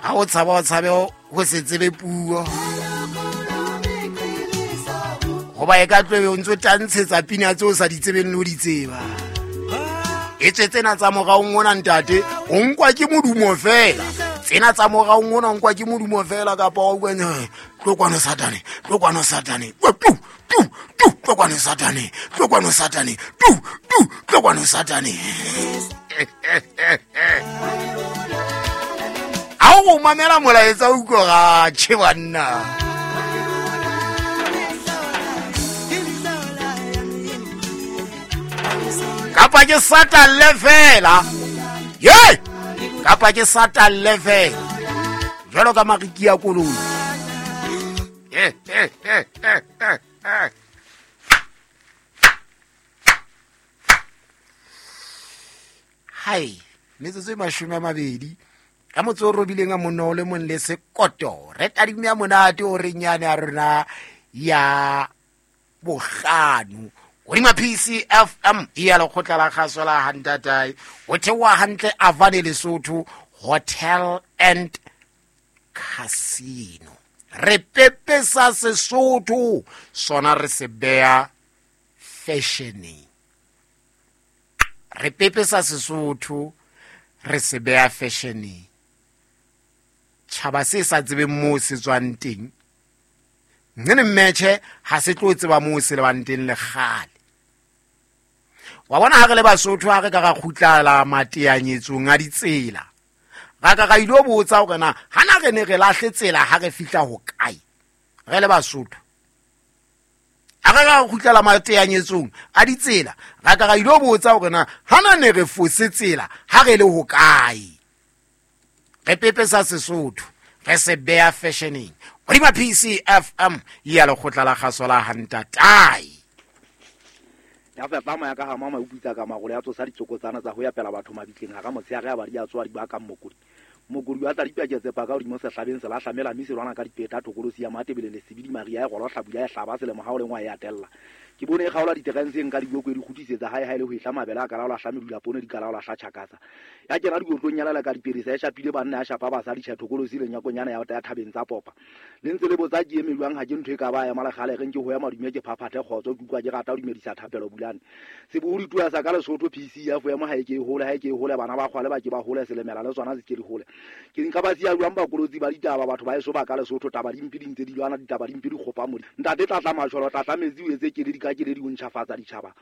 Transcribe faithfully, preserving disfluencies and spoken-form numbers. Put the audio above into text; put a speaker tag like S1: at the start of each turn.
S1: Ha o tshaba o tshabe ho se tsebe puo, hoba e ka tlobe o ntso tantshetsa pina tseo o sa di tsebeng le ho di tseba. E tswe tsena tsa moraong ona ntate, o nkwa ke modumo fela. Tsena tsa moraong ona o nkwa ke modumo fela, kapa wa utlwa, eh, tlo kwano Satane, tlo kwano Satane, tu tu tu, tlo kwano Satane, tlo kwano Satane, tu tu, tlo kwano Satane. Ha o mamela molaetsa o utlwa ga tjhe banna. Kapa ke satalle fela. Ye! Kapa ke satalle fela. Jwalo ka mariki a koloi. Hai, metsotso e mashome a mabedi. Ka motse o robileng a monna o le mong le sekoto. Re tadime ya monate o re nyane ya rona ya bohlano. Hodima P C F M ya lekgotla la kgaso la Hantatai. Ho theoha hantle Avane Lesotho Hotel and Casino. Re pepesa Sesotho sona re se beha fashioneng. Re pepesa Sesotho re se beha fashioneng. Tjhaba se sa tsebeng moo se tswang teng, nnene mmetjhe ha se tlo tseba moo se lebang teng le kgale. Wa bona ha re le Basotho ha re ka ra kgutlala mateanyetsong a ditsela, ra ka ra ilo botsa hore na hana re ne re lahle tsela ha re fihla hokae re le Basotho. Ha re ka ra kgutlala mateanyetsong a ditsela, ra ka ra ilo botsa hore na hana ne re fose tsela ha re le hokae. Re pepesa Sesotho re se beha fashioneng. Hodima P C F M ya lekgotla la kgaso la Hantatai.
S2: Ya fepa moya ka ha mama o putsa ka magolo ya tsosa ditsokotsana tsa ho ya pela batho mabitleng ha ka motshehare ya ba di a tswa di ba ka mokodi. Mokodi wa tla dipaketse pa ka hodimo sehlabeng se lahlamela mme se lwana ka dipeta thokolosi ya Matebele le Sebidi Maria ya golo hlabula ya hlaba selemo ha o lengwa ya tella. Ke bone e kgaola diterenseng ka diboko di kgutisetsa hae hae le ho ehla mabele a kalaola hla medula poone di kalaola hla tjhakasa. Ya kena dikotlong ya lela ka diperisa e shapile banna ya shapa basadi tjha thokolosi le nyakonyana ya ya thabeng tsa popa. Le ntse le botsa ke eme jwang ha ke ntho e ka ba ya malakgale re nke ho ya madume ke phaphathe kgotso ke utlwa ke rata ho dumedisa thapelo bulane. Sebohodi tua sa ka Lesotho P C ya fo ema ha e ke e hole ha e ke e hole bana ba kgwale ba ke ba hole selemela le tsona se ke di hole. Ke nka ba siya jwang bakolotsi ba ditaba batho ba eso ba ka Lesotho taba di mpe di ntse di lwana ditaba di mpe di kgopa modi. Ntate tlatla majolo tlatla metsi o etse ke le di ka ke le di o ntjhafatsa ditjhaba.